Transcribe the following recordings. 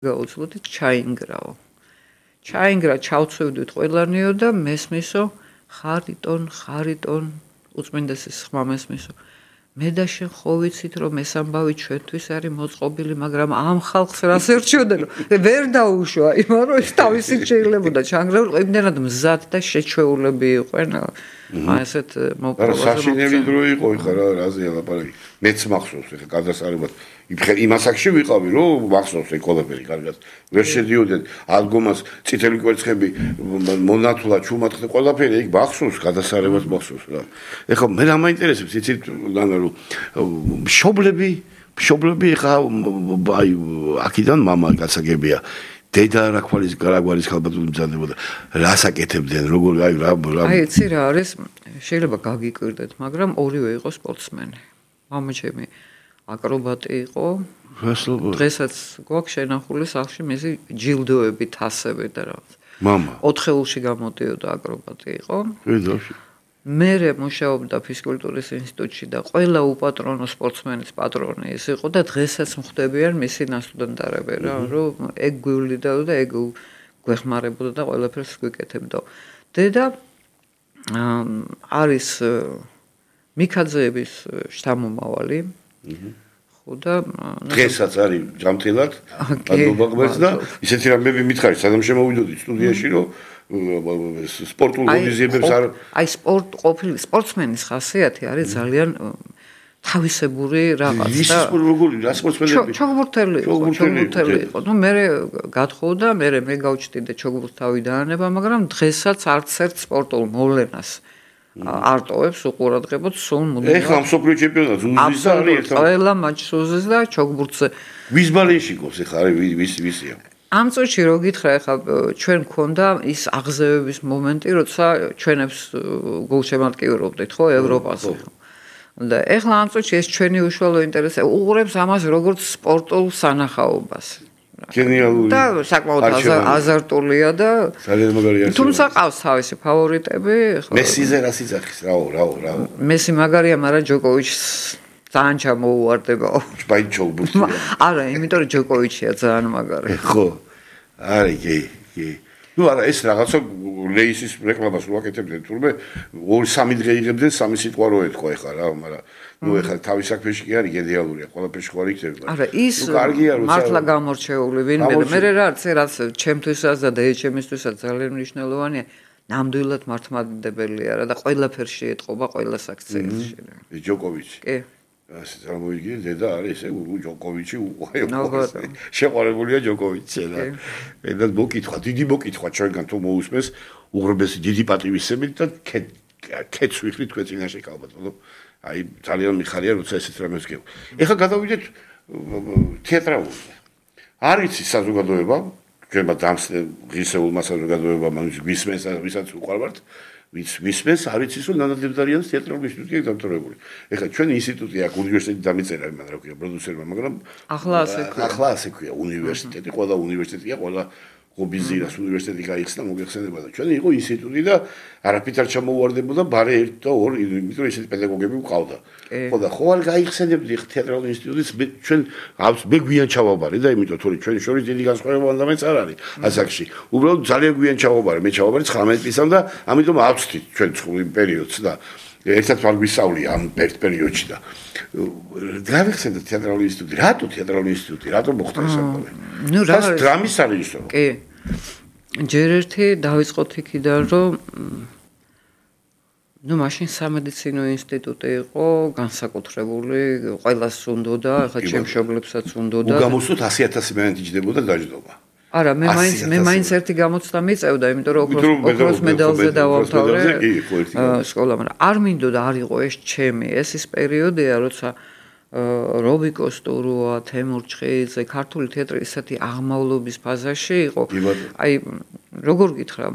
გაუძლოდით ჩაინგრაო. ჩაინგრა ჩავცვევდით ყველანიო და მესმისო ხარიტონ უწმინდესის ხმა მესმისო. მე და შენ ხო ვიცით რომ ეს ამბავი ჩვენთვის არის მოწყობილი, მაგრამ ამ ხალხს რას ერჩიოდენ? ვერ დაუშვა, იმან რომ ის თავისით შეიძლებოდა ჩანგრეულ იმდენად მზად და შეჩვეულები იყვენ. ესეთ მოპოვებას. საშინელი დრო იყო ხა რაზეა ლაპარაკი. მეც მახსოვს ხა გადასარევად იმ ასაკში ვიყავი რომ მახსოვს ეს ყველაფერი კარგად. ვერ შედიოდნენ ალბომას წითელი კვერცხები მონათლა ჩუმატხდა ყველაფერი იქ მახსოვს გადასარევად მახსოვს რა. ეხლა მე რა მაინტერესებს იცით ლანა რომ მშობლები ხა აი აქედან მამა გასაგებია. დედა რა ქვალის გარაგვარის ხალბატონი მზადდებოდა. რას აკეთებდნენ, როგორ აი რა აი იცი რა არის, შეიძლება გაგიკვირდეთ, მაგრამ ორივე იყო სპორტსმენი. მამაჩემი აკრობატი იყო. დღესაც გვაქვს შენახული სახლში მისი ჯილდოები, თასები და რაღაც. მამა 4-ელში გამოდიოდა აკრობატი იყო. ვიდოში. მერე მუშაობდა ფიზკულტურის ინსტიტუტში და ყველა უპატრონო სპორტსმენის პატრონი ის იყო და დღესაც მხვდებიან მისი ნასტუდენტარები რა, რომ ეგ გვივლიდა და ეგ გვეხმარებოდა და ყველაფერს გვიკეთებდა. დედა არის მიქაძეების შთამომავალი. ხო და დღესაც არის ჯამთილად ადმობაღმერს და ისეთი რამები მითხარი, სადამ შემოვიდოდი სტუდიაში რომ სპორტულ ღონისძიებებს არ აი ყოფილი სპორტსმენის ხასიათი არის ძალიან თავისებური რაღაც და როგორი რა სპორტსმენები ჩოგბურთელი იყო. ნუ მე გათხოვდა, მე გავჩნდე ჩოგბურთთავი დაანება, მაგრამ დღესაც არც ერთ სპორტულ მოვლენას არტოვებს უყურადღებოდ სულ მუდმივად. ეხლა მსოფლიო ჩემპიონატს უზის და არის ერთად. ყველა მაჩს უზის და ჩოგბურთზე. ვის ბალენში გოს ეხლა არის ვისია? ამ წუთში რო გითხრა ეხლა ჩვენ გქონდა ის აღზევების მომენტი, როცა ჩვენებს გულშემატკივრობდით ხო ევროპაზე. და ეხლა ამ წუთში ეს ჩვენი უშუალო ინტერესი უყურებს ამას როგორც სპორტულ სანახაობას. გენიალური და საკმაოდ აზარტულია და ძალიან მაგარია. თუმცა ყავს თავისი ფავორიტები. მესიზე რა სიძახის რაო. მესი მაგარია, მაგრამ ჯოკოვიჩს ძალიან ჩამოუვარდებაო. ჩბაი ჩოგბურთი. არა, იმიტომ რომ ჯოკოვიჩია ძალიან მაგარი. ხო. არის კი. ნუ არა ეს რაღაცა რეისის რეკლამას უაკეთებდნენ თურმე 2-3 დღე იღებდნენ 3 სიტყვა რო ეთქვა ეხლა რა, მაგრამ ნუ ეხლა თავის საქმეში კი არის გენიალურია, ყველაფერში ხო არ იქნება. არა, ის მართლა გამორჩეული ვინმე და მე რაც ჩემთვისაც და დეეჩემისთვისაც ძალიან მნიშვნელოვანია. ნამდვილად მართლმადიდებელია რა და ყველაფერში ეთყობა ყველა საქციელში. ჯოკოვიჩი. კი. ასე წარმოიდგინე დედა არის ესე ჯოკოვიჩი შეყვარებულია ჯოკოვიჩი და მე მოკითხა დიდი მოკითხა ჩვენგან თუ მოусმეს უღრმესი დიდი პატივისცემით და კეთს ვიხრი თქვენ წინაშე ხალბატონო აი ძალიან მიხარია როცა ესეთ რამეს გებ. ეხლა გადავიდეთ თეატრალურზე. არის საზოგადოება ჩვენმა დამსწრე ღირსეულმა საზოგადოებამ გვისმენს ვისაც უყვარვართ ვისმენს არის ის რომ ნანადებდარიანის თეატრალური ინსტიტუტია დამთავრებული. ეხლა ჩვენი ინსტიტუტი აქ უნივერსიტეტი დამიწერა იმან რა ქვია პროდიუსერმა, მაგრამ ახლა ასე ქვია უნივერსიტეტი, ყველა უნივერსიტეტია, ყველა გობიზირას უნივერსიტეტი გაიხსნა მოგეხსენება და ჩვენი იყო ინსტიტუტი და არაფრით არ ჩამოუვარდებოდა ბარე 1 და 2, იმიტომ რომ ესეთი პედაგოგები ვყავდა. ხო და ხო არ გაიხსენებდი თეატრალური ინსტიტუტის ჩვენ მე გვიან ჩავაბარე და იმიტომ თორე ჩვენი შორის დიდი განსხვავება ამაც არ არის ასაკში. უბრალოდ ძალიან გვიან ჩავაბარე, მე ჩავაბარე 19 წლისამ და ამიტომ ავწვდით ჩვენ იმ პერიოდს და ერთად ვარ გვისწავლია ამ პერიოდში და გავიხსენდა თეატრალური ინსტიტუტი. რატო თეატრალური ინსტიტუტი? რატო მოხდა ეს ამბავი? ნუ რა დრამის სარეჟისორო. კი. ჯერ ერთი დავიწყოთ იქიდან რომ ნუ მაშინ სამედიცინო ინსტიტუტი იყო განსაკუთრებული, ყველას უნდოდა, ახლა ჩემ მშობლებსაც უნდოდა. უგამოსოთ 100,000 მენეჯი ჯდებოდა დაждობა. არა, მე მაინც ერთი გამოცდა მიწევდა, იმიტომ რომ ოქროს მედალზე დავამთავრე სკოლა, მაგრამ არ მინდოდა არ იყო ეს ჩემი, ეს ის პერიოდია, როცა რობიკო სტურუა, თემურ ჩხეიძე, ქართული თეატრი ისეთი აღმავლობის ფაზაში იყო. აი, როგორ გითხრა,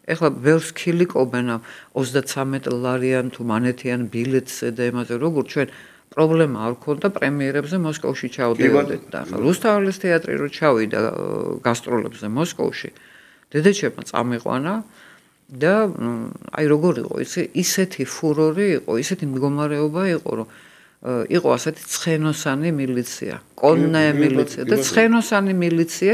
ეხლა ბევრს ქილიკობენ 33 ლარიან თუ მანეთიან ბილეთზე და იმაზე, როგორ ჩვენ პრობლემა არ ქონდა პრემიერებზე მოსკოვში ჩავდიოდეთ და ახლა რუსთაველის თეატრი რო ჩავიდა გასტროლებზე მოსკოვში დედაჩემმა წამიყვანა და აი როგორ იყო ისეთი ფურორი იყო ისეთი მდგომარეობა იყო რომ იყო ასეთი ცხენოსანი მილიცია, კონნე მილიცია და ცხენოსანი მილიცია